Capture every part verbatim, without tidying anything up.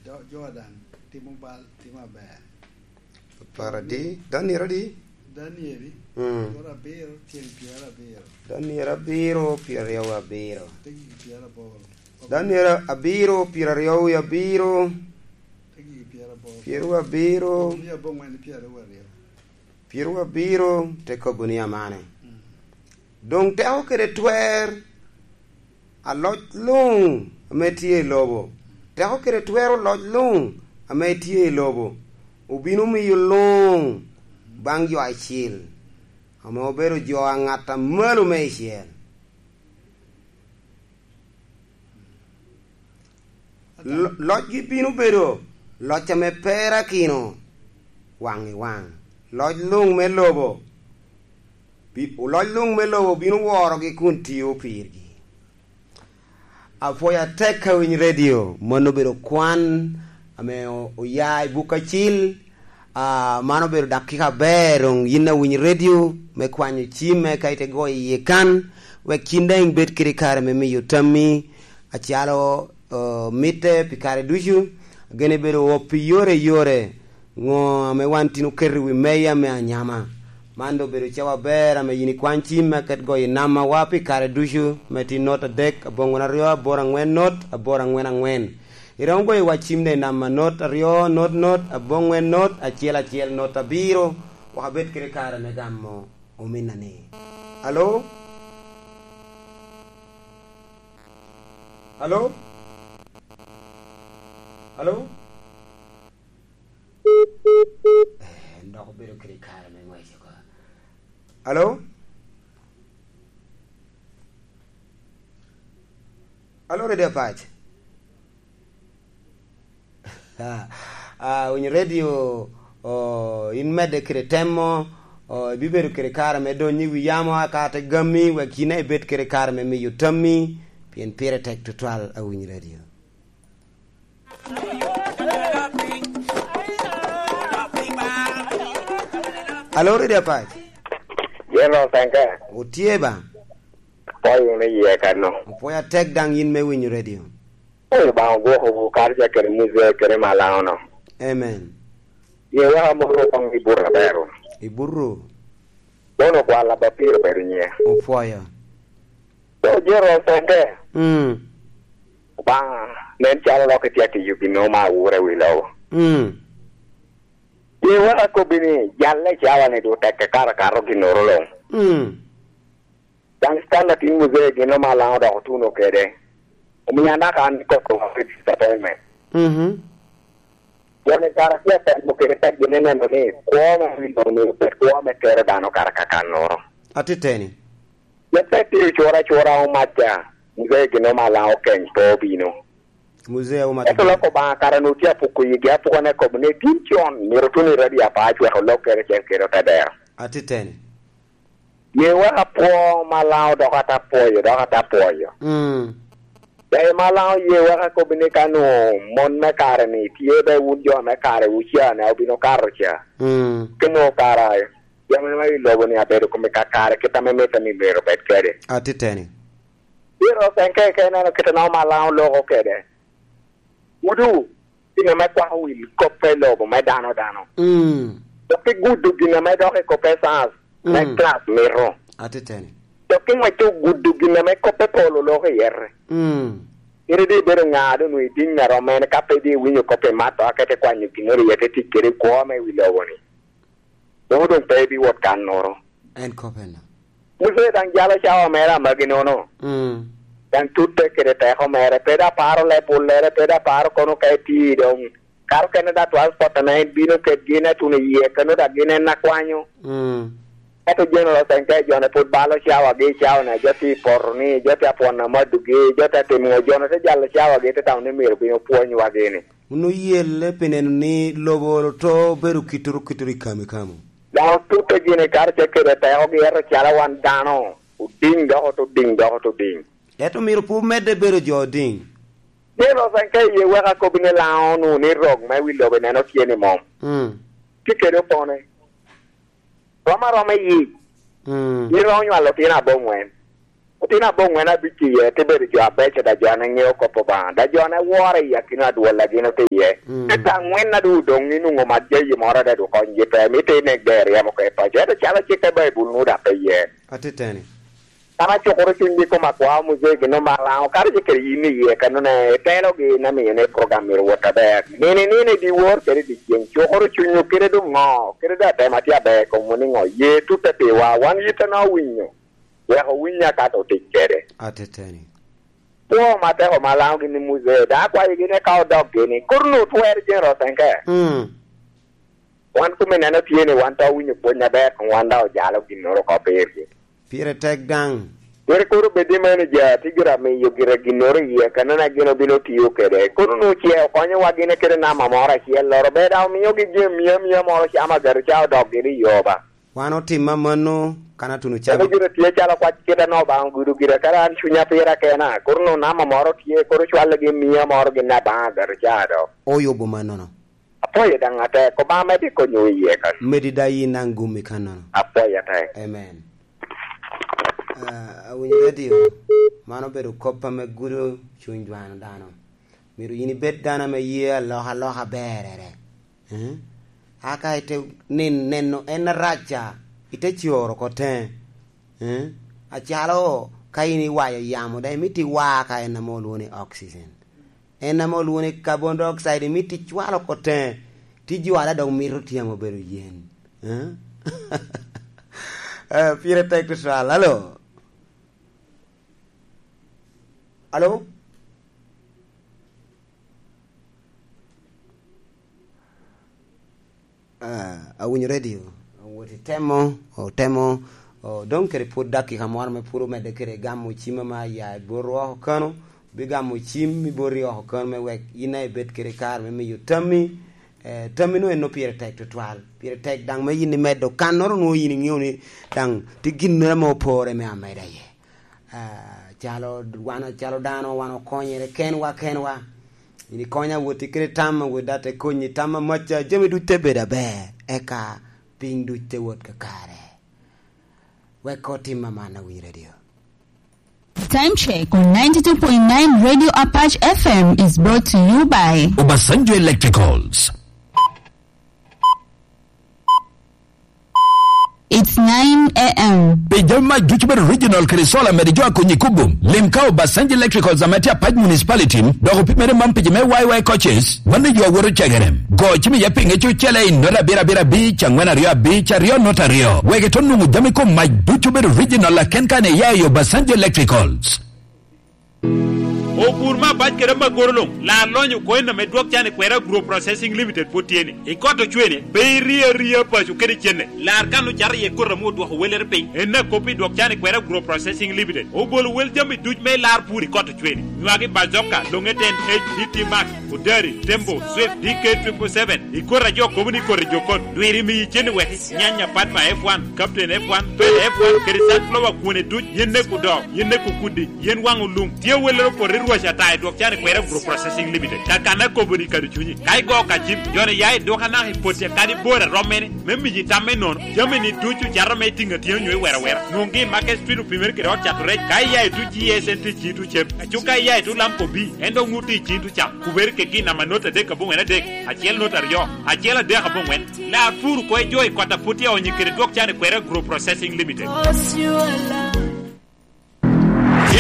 Jo- Jordan timo bal, timo aber. Apar adi? Daniel adi? Daniel, mm, abiro, tyen pyerabiro. Daniel abiro, pyeraryo abiro. Te gigi pyeraboro. Daniel abiro, pyeraryo abiro. Te gigi pyeraboro. Pyerabiro. Mia abongwen pyeraryo. Pyerabiro te kobo ni amane. Mm. Doŋ teko kede twer aloc luŋ ame tye i lobo, teko kede twer aloc luŋ ame tye i lobo obino miyo luŋ baŋ jo acil, ame obedo jo a ŋat a malo meicel. Lo- locgi bino bedo loc ame perakino waŋ i waŋ. Loc luŋ me lobo, bi- loc luŋ me lobo bino worogi kun tio pirgi. Apwoyo atek ka winy redio, mano obedo kwan ame o- oya i buk acil. Ah, man obedo dakika aber, doŋ yin awiny redio me kwanyo cimme ka ite goyo iye kan, wek yin daŋ ibed kede kare me miyo tammi acalo, oh, mitte pi kare ducu. Gene bedo wop i yore i yore, ŋo ame wan tin oketo i wi meya me anyama. Man doŋ obedo cawa aber ame yin ikwany cim me aket goyo i namba wa pi kare ducu, me tin not adek, aboŋwen aryo, aboro aŋwen not, aboro aŋwen aŋwen. Iromo goyo wa cim de i namba not aryo, not, not, aboŋwen, not, acel, acel, not, abiro. Wek abed kede kare me gamo ominna ni. Alo? Alo? Alo? Eh, en dok obedo kede kare me ngwec oko. Alo? Alo, Radio Apac? Ah, ah, winyo radio, oh, in medde kede temo, oh, ibibedo kede kare me donyo i wi yamo, aka te gami, wek yin daŋ ibed kede kare me miyo tammi, pien pire tek tutwal, awinyo radio. Alo, Radio Apac? Yen Ocenke. Otye ba? Apwoyo wunu iye kano. Apwoyo atek daŋ yin me winyo radio. Oyo Obaŋa ogwokowu, kadi ca kede Muze kede Malaŋo-no. Amen. Ye wek amoro koŋ i buto aber wunu. I buto? Kono kwalla ba pire obedo nyiŋe. Opwoyo. Kono Jero Ocenke. Mm. Obaŋa, nen calo lok itye atiyo gin me oma awura i wi lobo. Mm. Ye wek akobbi ni, jalle i cawa-ni doŋ tekke kato akato ginnoro luŋ. Mm. Daŋ Stanley atin Muze gin ome alaŋo dok otuno kede. Omio anaka an koko wa pe disappointment. Mhm. Won i kare tye atemo kede tek gin ineno ni kwo me wi lobo myero obed kwo me kero dano kare kakannoro. Atiteni. Yam pe tye ocura acura omaca, Muze gin ome alaŋo keny pe obino. Muze omaca. Ento lok Obaŋa kara nu tye apuko yigi apuka ne kobo ni tin con myero tun i radio apac wek olok kede cen kede ote dero. Atiteni. Ye wek apwo Malaŋo dok ata pwoyo, dok ata pwoyo. Mm. Daŋ Malaŋo ye wek akobi ni ka nwoŋo mon me kare-ni tye, be wun jo me kare wuca-ni obino kato ca. Mm. Ki nwoŋo kara jami me i lobo-ni abedo kome kakare kit ame mitte ni myero obed kede. Atiteni. Pire ocenke ka ineno kit ame Malaŋo loko kede. Wudu, gin ame kwako wil kop i lobo me dano dano. Mm. Dok igudo gin ame dok i kop me science me, mm, class mito. Atiteni. Dok iŋwecce ogudo gin ame kop me pol oloko iye. Mm. Iri di ibedo ŋa doŋ nwoŋo idiŋ a rom en ka pe di iwinyo kop i mato, a kete kwanyo ginnoro iye te tic kede i kwo me wi lobo-ni. Doŋ doŋ pe ibiwot kannoro. En kop en. Musa daŋ jalo cawa mere amagi nono. Mm. Daŋ tutte kede teko mere, pe da paro leb ullere, pe da paro kono ka eti doŋ. Karo kene da transport ame en bino kedgi, en atuno i yie keno da gin en akwanyo. Mm. Ento General Ocenke jone pwod balo cawagi i cawa-ni, jo tye i poto-ni, jo tye apwon amadugi, jo tye timo ŋo, jone te jalo cawagi, te tamo ni myero bin opwonywa gini. Wun oyelle pi neno ni lobo oto bedo kittoro kittoro i kami kamo. Dano tute gini karacel kede tekogi, ento calo wan dano, odiŋ dok oto diŋ, dok oto diŋ. Ento myero pe omedde bedo jo odiŋ. Ni Rosen ka iye wek akobbi ni Laŋo nu ni rok me wi lobo ineno tye ni mom. Mm. Tye kede opone. Rom aroma i yic. Mm. Iromo nywalo otino aboŋwen. Otino aboŋwen abic iye, te bedo jo abeco, da jo ane ŋeo kop Obaŋa, da jo ane woro i akino adwolla gin otye iye. Mm. Eka aŋwen a doŋ odoŋ, inwoŋo mat jayi moro ade doŋ kony gi pe, mito inek de ryemo oko i paco. Ento calo cikke Baibul nwoŋo dok pe iye. Atiteni. An acukoro cunygi i kom akwa Muzee gin omalaŋo, kara je kede yin iye, kanone itelogi in amio ni program myero wot aber. Nino i nino, i dyewor kede i dyeceŋ, cukoro cunywu kede doŋ ŋo, kede doŋ atemo atye aber i komwu ni ŋo, ye tutte piwa, wan yittina owinyo. Wek owiny akato otic kede. Ateteni. Kwo matek omalaŋo gin i Muzee, dok akwayo gin eka odok gini, kur nu twero Jane Rose Enke. Mm. Wan kome neno tye ni wan to winyo pwony aber, koŋ wan daŋ ojalo ginnoro oko pirgi. Pire tek daŋ. Pire kur obed ni manager tye gira miyo gira ginnoro iye, kanona gin obino tiyo kede. Kono nu ce okonyowa gin kede nama moro acel, loro bed daŋ omiogi jami mia mia moro camo agati ca odok gini i yo ba. Wan otim amanno, kan atuno Eno cabi. Gire tye calo kwac kite no Obaŋa ogudo gire, kara an cunya pira kena, kono nama moro tye, kono cwalli gi mia moro gin Abaŋa gato ca do. Oyubo mannono. Apwoyo daŋ atek, Obaŋa med i konyo iye kan. Medi da yin daŋ gumi kannono. Apwoyo atek. Amen. Ah, awinyo radio, man obedo kop ame gudo cuny dwano dano. Myero yin ibed dano ame ye alokaloka berere. Eh? Aka ite nin-, neno en arac ca, ite coro oko teŋe. Eh? Acalo ka in iwayo yamo, daŋ imito iwa ka en ame olwoŋo ni oxygen. En ame olwoŋo ni carbon dioxide, imito icwalo oko teŋe, ti jwala dok mito tyemo bedo yen. Eh? Eh, pire tek tutwal. Alo? Alo? Ah, awinyo radio. Awot i temo, otemo, o, dong kede pwod dakika moro ame pwod omedde kede gamo cim ame aya i bot oko kano, bigamo cim i boti oko kano me wek in a ibed kede kare me miyo tammi, eh, tammi no en no pire tek tutwal. Pire tek daŋ me yin imedo kannoro nwoŋo yin iŋeo ni daŋ tye ginnoro ame opore me ameda iye. Ah, calo wan, calo dano, wan okonyere kenwa kenwa. In ikonya woti kede tam, wot da te konyi tam amaca, jami duc te bedo aber, eka piny duc te wot kakare. Wek otim aman, Awiny Radio. Time check on ninety-two point nine Radio Apache F M is brought to you by Obasanjo Electricals. It's nine a m. Pi jami mac ducu bedo original kede solar, mede jo a konyi kubo. Lim ka Obasanjo Electricals ame tye Apac Municipality, dok opimere man pi ji me Y Y coaches, wan ni jo a woto cegere. Go cim iye pi ŋec ocele i nota abiro abiro abic, angwen aryo abic, aryo nota aryo. Wek ito nwoŋo jami kom mac ducu bedo original, laken ka ne iya i Obasanjo Electricals. Opur me abac kede amagoro luŋ, lar lonyo oko en ame dwok can i kwera Agro Processing Limited pwod tye ni. I kot ocwene, pe irie aria paco kede cenne. Lar kan ocato iye koti ame odwoko wellere piny. En akop i dwok can i kwera Agro Processing Limited. Obolo wel jami duc me lar pur i kot ocwene. Nywagi bazoka, longe ten H, D T Max, Odari, Tembo, Swift, D K triple seven. I koti a jo kobo ni koti jokon. Dwiri miyi cen i weki. Nyanya Padma F one, Captain F one, Pele F one, kede sunflower kwone duc, yen nek odo, yen nek okudi, yen waŋ olum. Tye wellere opoto i rwac ata i dwok can i kwera Agro Processing Limited. Kakan akobo ni kadi cunyi. Ka igo ka jim, joni ya i dwok anaka i poti kadi bor a rom mene, me miyi tam me nono. Jami ni ducu cato me tiŋ atyeno nyo i wera wera. Nwoŋgi i Market Street opimere kede ot cato rec. Ka iya i tuc G S N T ci tuc cem. Aco ka iya i tuc Lamco B, en dok nwoŋo tye i ci tuc cam. Kubere kegi namba not adek aboŋwen adek, acel not aryo, acel adek aboŋwen. Lar pur oko i jo i kot a pwod tye onyo kede dwok can i kwera Agro Processing Limited.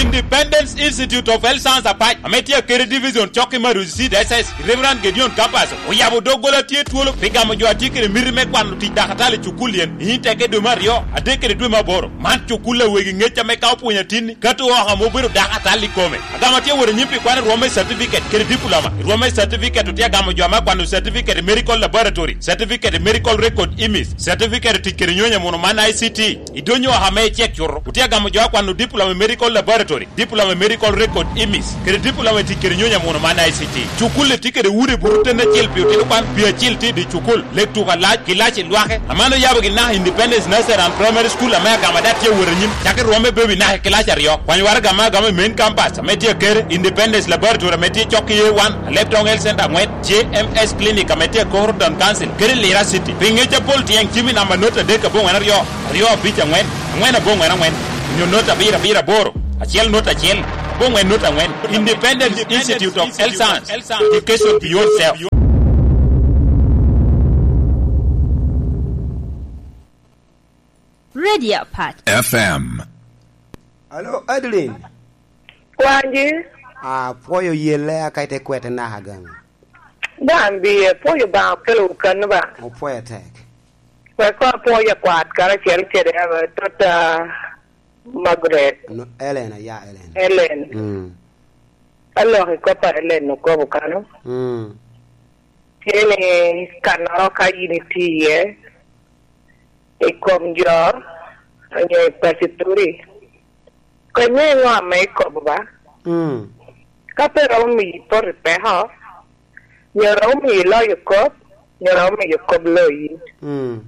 Independence Institute of Health Science Apac, ame tye kede division cok i Maruzi Seed S S, Reverend Gideon Kapaso, oyabo doggola tye twolo pi gamo jo a tye kede miti me kwano tic dakatali i cukul yen, i teke dwe me aryo, adek kede dwe me aboro. Man cukul a wegi ŋec ame ka opwonyo atinni, ka to oko ame obedo dakatali i kome. Agamo tye wot anyim pi kwano rwom me certificate kede diploma. Rwom me certificate otye agamo jo ame akwano certificate i medical laboratory, certificate i medical record image, certificate i tic kede nyonyo muno man I C T. I donyo oko ame icek cuto, otye agamo jo akwano diploma i medical laboratory, diploma i medical record image, kede diploma i tic kede nyonyo muno man I C T. Cukul-li tye kede udi buto ten acel pi otino kwan, pi acil tye i dye cukul. Lek tuko alac, kilaci lwake. Aman oyabo gin naka Independence Nursery and Primary School ame agamo ada tye awot anyim. Cak i rwom me baby naka i kilaci aryo. Kwany waraga ame agamo i main campus ame tye akere, Independence Laboratory ame tye cok i A one, Alebtong Health Center angwen, J M S Clinic ame tye akoro Town Council, kede Lira City. Pi ŋec apol tyeng cim i namba not adek aboŋwen aryo, aryo abic angwen, angwen aboŋwen angwen, onyo not abiro abiro aboro. Achiel not achiel, abongwen not angwen. Independent Institute of Health Science, education beyond self. Radio Pat. F M. Alo, Adeline. Kwanji. Apwoyo yelle aka ite kwete naka gang. Dan bi apwoyo ba okelo kano ba. Opwoyo tek. Wek ko apwoyo kwat karacel kede aba tota Margaret. No, Ellen, aya Ellen. Ellen. Mm. Alok i kop a Ellen okobo kano. Mm. Tye ni kannoro ka yin itye iye, i kom jo, onyo i pacituri, konye i ŋo ame ikobo ba? Mm. Ka pe romo miyi poto i peko, nyo romo miyi loyo kop, nyo romo miyi kop loyi. Mm.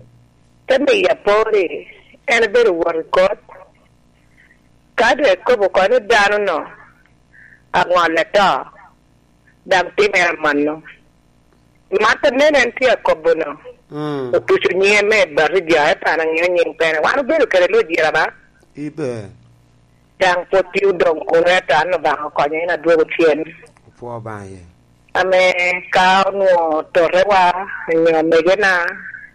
Te miyo apori, en bedo wot i kot. Ka doŋ ekobo oko ni dano-nu aŋolle to, daŋ timere amanno. Mat anene en tye akobo-nu, mm, otuco nyiŋe me bati jo, ento an aŋeo nyiŋ pene. Wan obedo kede lojira ba? Ibe. Daŋ pwod tye odoŋ kuno, ento an Obaŋa okonya, en adwogo cen. Opwo Obaŋa iye. Ame ka onwoŋo totewa, onyo megena,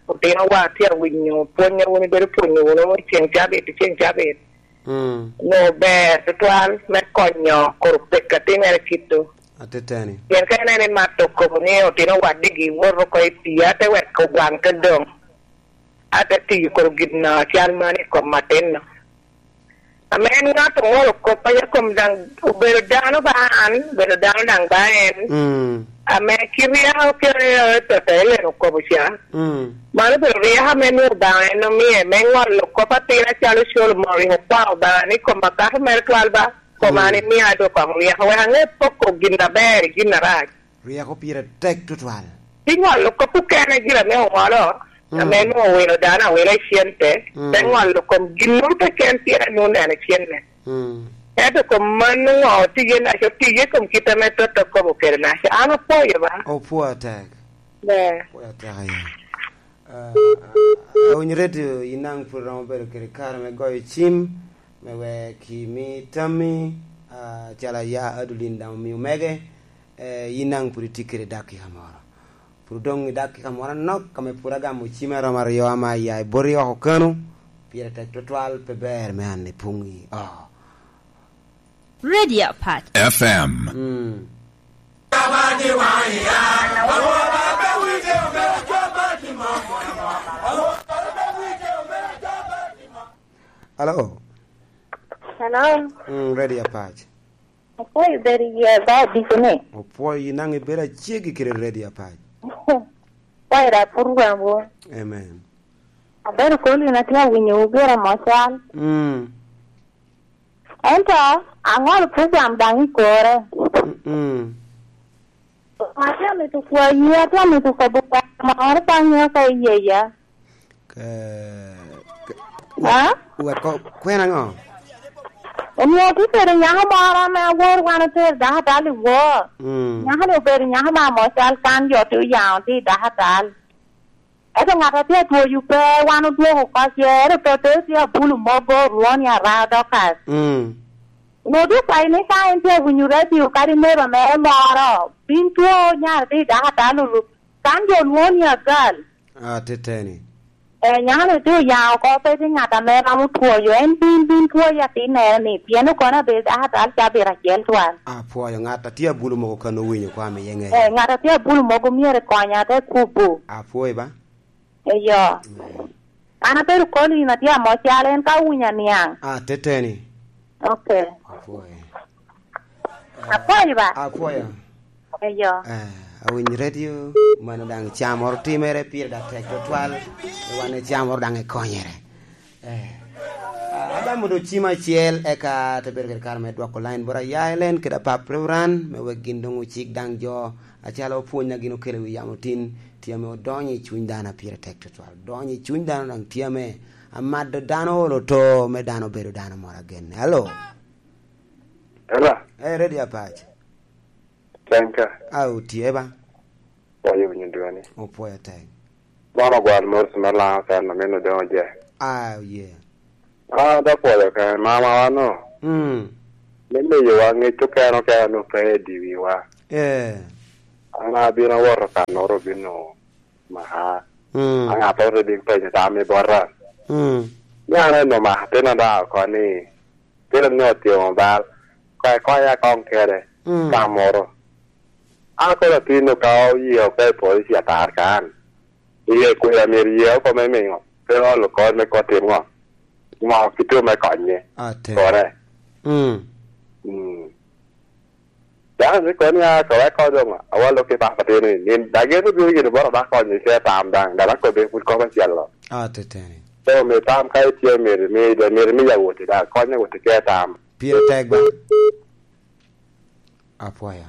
otinowa tye awinyo pwony a wun ibedo pwonyo wunu i ceŋ cabit, i ceŋ cabit, mm, onwoŋo ber tutwal me konyo kor pek a timere kito. Ateteni. Pien ka ineno imato kobo ni otino wadigi woto oko i pii, a te weko waŋ te doŋ, a te tiyo kor gin acal man i kom atin-nu. Ame en ŋat oŋolo kop, a ya kom daŋ obedo dano ba an, obedo dano daŋ ba en. Mm. Ame kit ryeko kede toto Ellen okobo ca. Mm. Mano obedo ryeko ame nwoŋo Obaŋa en omie me ŋolo kop atin acalo Solomon rik okwao Obaŋa ni kom akato mere twal ba, kom an imia do koŋ ryeko, wek aŋe poko gin aber i gin arac. Ryeko pire tek tutwal. Pi ŋolo kop okene gire ame oŋolo, mm, ame nwoŋo owilo dano awila i cente, mm, te ŋolo kom ginnoro keken pien anwoŋo neno cente. Mm. Ento kom mano ŋo otiye naca, otiye kom kit ame toto kobo kede naca. An apwoyo ba. Opwo atek. Ber. Opwo atek aye. Ah, ah, awinyo redio, in daŋ pwod iromo bedo kede kare me goyo cim, me wek imi tammi, ah, calo aya Adulin daŋ omio mege, eh, in daŋ pwod itye kede dakika moro. Pwod odoŋ i dakika moro anok, ame pwod agamo cim aromo aryo ame aya i boti oko kano, pire tek tutwal, pe ber me an ipuŋ i oko. Radio Pat. F M. Mm. Hello. Hello. Mm, Radio Pat. Apwoyo bedo i ba dikone. Opwoyo, in daŋ ibedo acegi kede Radio Pat. Pwoyo da pur wambo. Amen. Abedo kolo in atye awinyo wu gira mocal. Mm. Ento aŋolo program daŋ i kore. Mm-mm. Atye amito kwayi, atye amito kobo kwayi moro ka ŋeo ka iyeya. Ke-, ke-, ha? Wek ko-, kwena ŋo? Omio tye kede nyako moro ame awor wan otero dako atal i wor. Mm. Nyako-ni obedo nyako ma amocal kan jo tye oyaŋo tye i dako atal. Ento ŋat a tye atwoyo pe, wan odwoko oko ce, ento totte tye abulu mogo, orwo ni ara Dorcas. Mm. Onwoŋo dok kwayi ni ka en tye awinyo radio kadi neba mere moro, bin two nyara tye i dako atal olu, kan jo olwoŋo ni agal. Ateteni. Eh, nyako-ni tye oyaŋ oko, pe tye ŋat ame romo twoyo, en bin, bin twoyo atinnere-ni, pien okono abedo dako atal cabit acel twal. Apwoyo, ŋat a tye abulu mogo kan owinyo kwa ame yeŋe. Eh, ŋat a tye abulu mogo myero konya te kubo. Apwoyo ba? Eyo. Mm. An abedo kolo in atye amo cal en ka owinyo aniaŋ. Ah, teteni. Ok. Apwoyo. Apwoyo ba? Apwoyo. Eyo. Eh, awiny radio, mano daŋ ca moro timere pire dak tek tutwal, wan ca moro daŋ ekonyere. Eh. Ah, agamo do cim acel, eka te bedo kede kare me dwoko line bot aya Elen kede apap Reverend, me wek gin doŋ ocik daŋ jo, acalo pwony a gin okelo i wi yamo tin, tye ame odonyo i cuny dano a pire tek tutwal. Donyo i cuny dano daŋ tye ame amado dano olo to, me dano bedo dano moro agenne. Alo? Ela? Eh, ready apac. Can ka. Ah, otye ba? Pwoyo winyo dwani. Opwoyo tek. Mono gwal mos me Laŋo kan, amino doŋ oje. Ah, yeah. Ah, da pwoyo kan, mama wano. Mm. Me miyowa ŋec okene okene onwoŋo pe i dye wiwa. Ee. An abino awoto kannoro, obino maka. Mm. Aŋattoro te bino penyo tam i bota. Mm. Ni an onwoŋo omako atin ada oko ni, atin ni otyemo bal. Konya, konya koŋ kede. Mm. Ka moro. An kono atin ka oye oko i polici atar kan. Iye kweda myero iye oko me miŋo, pe olo kony me kot tim ŋo? Ŋo kite me konye? Ate. Kore. Mm. Mm. Dano ni koni a kore ko doŋ, awalo ki papa tini, ni dageto bino gini boro da konyo ice tam daŋ, dano kobbe pud kop acel lo. Ate teni. So, mi tam ka itye myero, mi, myero mi yawoti da, konye woti ke tam. Pire tek ba. Apwoyo.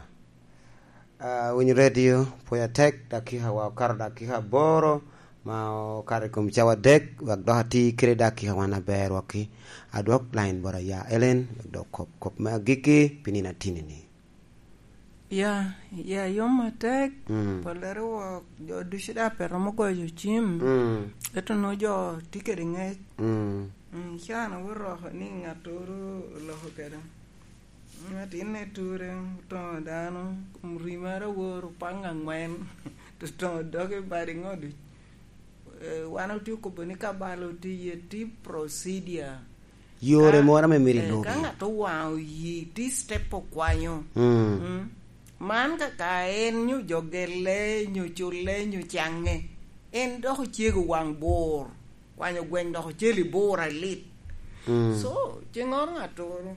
Ah, winyo redio, pwoyo atek, dakika wa okato dakika aboro, ma okato i kom cawa adek, wek dok ati kede dakika wan aber waki. Adwok line bot aya Ellen, wek dok kop, kop me agikki, pi nino atini-ni. Ya, ya yom atek, mm, pollere wok, jo ducu daŋ pe romo goyo cim, mm, ento nwoŋo jo tye kede ŋec. Mm. Mm, can awoto oko ni ŋattoro oloko kede. Atinne ture, otoŋo dano, kom ri mere awor, opaŋ aŋwen, otoŋo doge bade ŋo duc. Eh, wan otye okobo ni ka bal otye iye, tye procedure. Yore ka, moro ame myero, eh, ilubi. Ka ŋat owaŋo yi, tye step okwanyo. Mm. Mm. Man kaka en nyo jogelle, nyo culle, nyo caŋe, en dok ocego waŋ bor, kwanyo gweng dok ocel i bor alit. Mm. So, ceŋŋoro ŋattoro,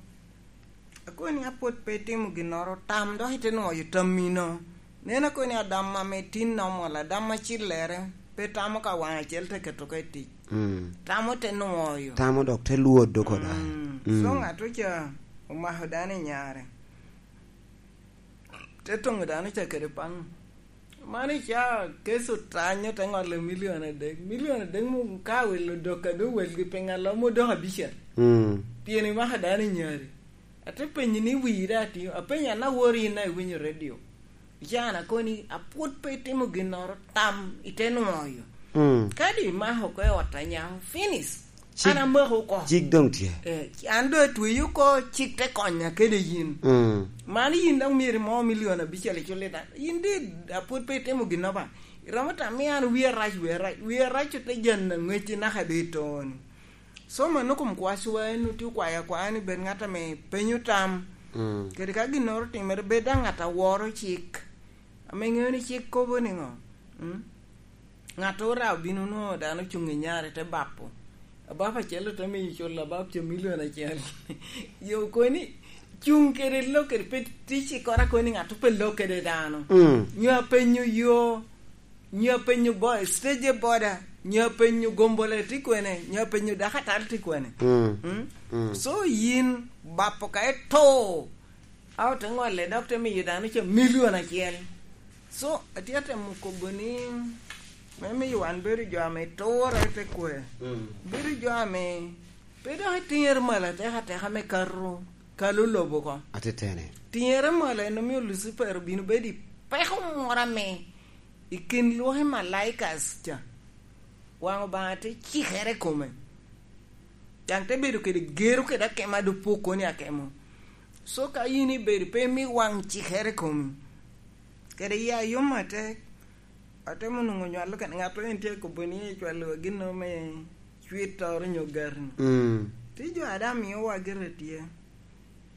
akoni apwod pe itimo ginnoro, tam dok ite nwoyo tammino. Nen akoni adam ame tin normal, adam acillere, pe tamo ka waŋ acel te keto ka i tic. Mm. Tamo te nwoyo. Tamo dok te lwodo koda. Mm. Mm. So ŋat oca omako dano i nyare. Te toŋo dano ca kede paŋ. Man ica keco otanyo te ŋolo milion adek. Milion adek mom ka welo dok a doŋ welgi piny alo mo dok abicel. Mm. Pien imako dano i nyari. Ate penyi ni wii da tio? Apenyo an awori in a iwinyo redio. Ican akoni apwod pe itimo ginnoro, tam ite nwoyo. Mm. Kadi imako oko i ot a nyako, finish. Cik, an amako oko. Cik doŋ tye. Eh, an doŋ atweyo oko, cik te konya kede yin. Mm. Man yin dok myero imo milion abicel icul i dan. Yin di apwod pe itimo ginnoro ba. Iromo tam ni an wia rac, wia rac. Wia rac ote jan aŋwec naka de i toni. So, mano kom kwacowa en otye okwayo akwaya ni bed ŋat ame penyo tam. Mm. Kadi ka ginnoro otimere, bed daŋ ŋat a woro cik. Ame ŋeo ni cik kobo niŋo? Mm? Ŋat ora obino nwoŋo dano ocuŋ i nyare te bapo. Abap acel ote miyo cul abap ca milion acel. Yo koni, cuŋ kede lok kede pe tic i kora koni ŋat pe lok kede dano. Mm. Nyo apenyo yo, nyo apenyo bo-, stage boda, nyo apenyo gombole tye kwene, nyo apenyo dakatal tye kwene. Mm. Mm? Mm. So yin bapo ka ito, a ote ŋolle dok te miyo dano ca milion acel. So, atye atemo kobo ni, me miyo wan bedo jo ame turre te kwe. Mm. Bedo jo ame pe dok itiŋere malo atek ateka me kato, kalo lobo oko. Atetene. Tiŋere malo en omio Lucifer obino bedo i peko moro ame i kin lwaki malaikas ca. Waŋ Obaŋa te cikere i kome. Daŋ te bedo kede gero kede akemo a doŋ pwod koni akemo. So ka yin ibedo pe imi waŋ cikere i komi, kede ya yom atek, atemo nwoŋo nywalo kede ŋat en tye kobo ni ecwalo gin me cwittoro nyo gari. Mm. Ti jo a daŋ miowa gire tye.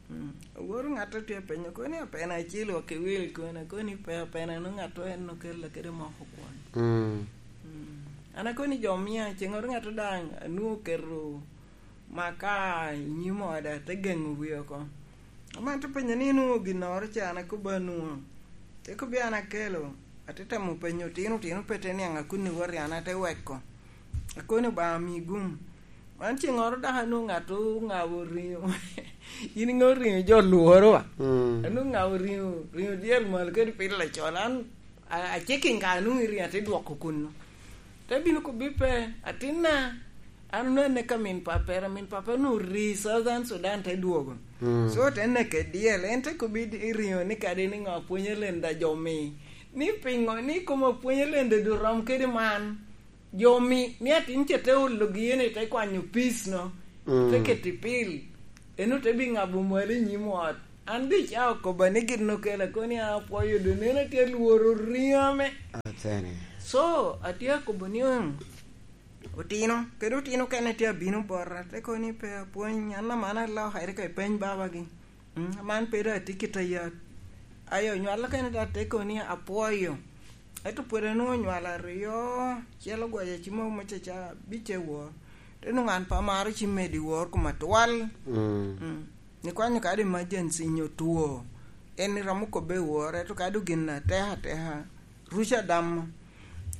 Mm. Awor ŋat tye penyo, koni apena acel wa kiwil koni, koni pe apena no ŋat en okella kede moko kwon. Mm. Mm. An akoni jo mia, ceŋ oro ŋat daŋ anwoŋo oketo maka i nyim oda, te geŋo wie oko. Ama te penyo ni inwoŋo ginnoro ca, an akobo anwoŋo. Te kobbi an akelo, ate temo penyo otino, otino pe te niaŋ akuni wot i an ate weko. Akoni Obaŋa mi gum. Man ceŋŋoro dok anwoŋo ŋat oŋabo riŋo. In iŋeo riŋo jo lworo wa. Mm. Anwoŋo ŋabo riŋo, riŋo dyel malo kede pil lacol. An a-, aceking ka anwoŋo i riŋo ate dwoko kunnu. Te bino kobbi pe, atinna, an onwoŋo aneka min papere, min papere onwoŋo ri Southern Sudan te dwogo. Mm. So te neke dyel, en te kobbi i riŋo ni kadi ni ŋo apwonyo lenda jo mi. Ni piŋo ni kom apwonyo lenda du rom kede man. Jo mi, mi atin ca te ologi ene te kwanyo peace no, mm, te keto i pil. En ote bi ŋabo mwal i nyim ot. An dica okoba ni gin okela koni apwoyo do neno tye lworo riame. Atene. So, atye akobo ni, mm, otino, kede otino kene tye abino bota, te koni pe apwony, an aman alokere ka ipeny babagi. Mm, man pe doŋ atye kit ayat. Ayo, nywal okene doŋ ate koni apwoyo. Ento pwod anwoŋo nywal aryo, acel ogwaca cim mogo me caca abic e wor. Te nwoŋo an pe amaro cim medo i wor koma twal. Mm. Mm. Ni kwanyo kadi emergency nyo two, en iromo kobbe i wor, ento kadi gin atek ateka, ruca damo.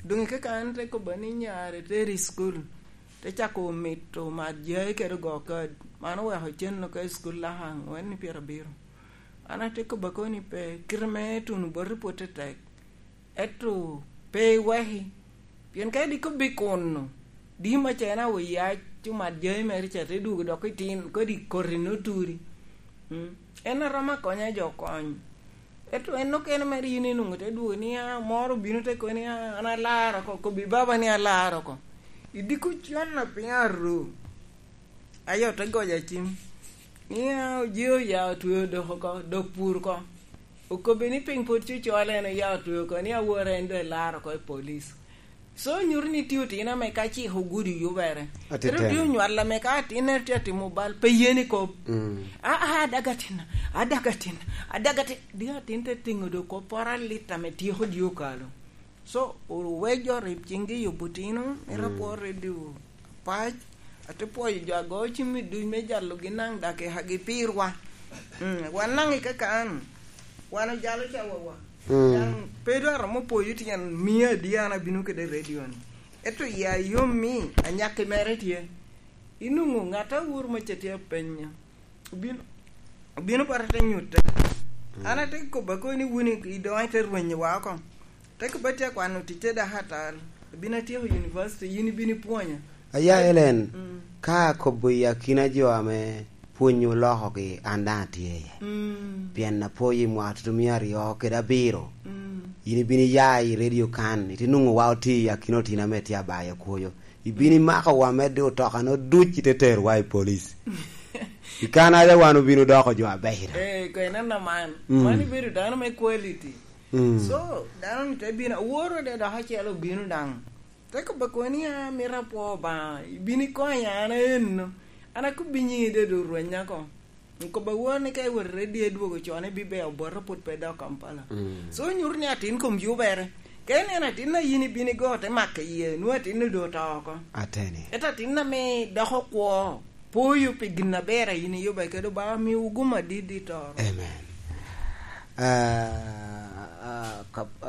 Doŋ i kaka an te kobba ni nyare teri i cukul, te cako mito mat jai kede go kad. Man oweko cen ka i cukul laka aŋwen i pyerabiro. An ate kobba koni pe, kite me tuno boti pwod te tek. Ento pe iweki, pien ka diko bikuno, di macen awo yac omat jami mere ca te dwogo dok itin, kodi koti noturi. Mm. En a romo akonya jo kony. Ento en okene mere yin inwoŋo te dwogo ni, "Ah, moro obino te koni, ah, an alar oko, kobbi baba ni alar oko." Idiko con a piny aruu. Ayo te goja cim. Ni, ah, oji oya otweo dok oko, dok pur oko. Okobbe ni piny pwod cucol, en oya otweo oko, ni awora en doŋ elaro oko i police. So, nyuto ni tye otino ame ka cik ogudo yubere. Atitino. Ento tye onywal ame ka atinnere tye atimo bal, pe yeni kop. Mm. "Ah, ah, adaga atinna, adaga atinna, adaga atinna." Di atin te tingo do kop poro alit ame tyeko di okalo. So, owek jo rib ciŋgi yubo otino, mito apwoo redio apac, ate pwoyo jo ago cim i duc me jalogi naŋ dak i hagi pirwa. Mm, wan naŋ i kakan, wan ojalo cawawa. Mm. Daŋ pe dwaro mo pwoyo tyen mia adi an abino kede redio-ni. Ento ya yom mi anyakki mere tye. Inwoŋo ŋat a wuro me ca tye apenya. Obino, obino bota te nyutte. Mm. An ate kobba koni ni wun i, i doŋ ite rwenyowa oko. Te kobba tye akwano ticce dako atal. Abino atyeko university, yin ibino ipwonya. Aya, Elen, mm, ka akobo i akina jo ame pwony olokogi, an daŋ atye iye. Mm. Pien apwoyo i mwaka tutumia aryo kede abiro. Mm. Yin ibino iya i redio kan, ite nwoŋo wa otye i akina otino ame tye abayo kwoyo. Ibino imako wa medde otoka no duc ite terowa i police. I Canada wan obino doko jo abeco daŋ. Eh, ko ineno man. Mm. Man ibedo dano me quality. Mm. So, dano ni te bino, aworo de dok acel obino daŋ. Te kobba koni, "Ah, mito apwo Obaŋa, ibino ikonya an aenno." An akobbi nyiŋi de do rwenya ko. Kobba wor ni ka iwot i redio idwogo con, ibibeo bota pwod pe dok Kampala. Mm. So, nyuto ni atin kom yubere. Ka ineno atin a yin ibino igo te mako iye, nwoŋo atin-nu doŋ oto oko. Ateni. Ento atin ame doko kwo, pwoyo pi gin aber a yin iyube kede Obaŋa, miwu gum adit i toro. Amen. Ah, ah, kap-, ah,